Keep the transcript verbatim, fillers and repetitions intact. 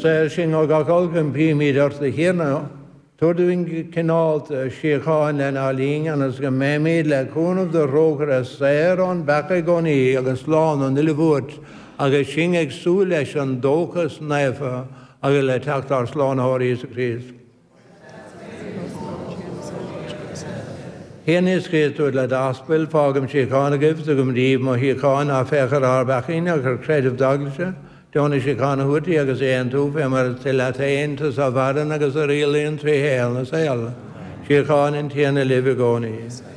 Saor sinn ó gach olc, impímid ort, a Thiarna, tabhair dúinn go cineálta síocháin lenár linn, ionas go mbeimid le cúnamh do thrócaire saor ón bpeaca i gcónaí agus slán ón uile bhuairt, agus sinn ag súil leis an dóchas naofa agus le teacht ár Slánaitheora Íosa Críost. A Thiarna Íosa Críost, a dúirt le d'aspail, Fágaim síocháin agaibh, tugaim daoibh mo shíocháin, ná féach ar ár bpeacaí ach ar chreideamh d'eaglaise, Deonaigh síocháin a thabhairt di agus í a aontú, fé mar is toil leat féin, tusa a mhaireann agus a rialaíonn trí shaol na saol. Síocháin an Tiarna libh i gcónaí.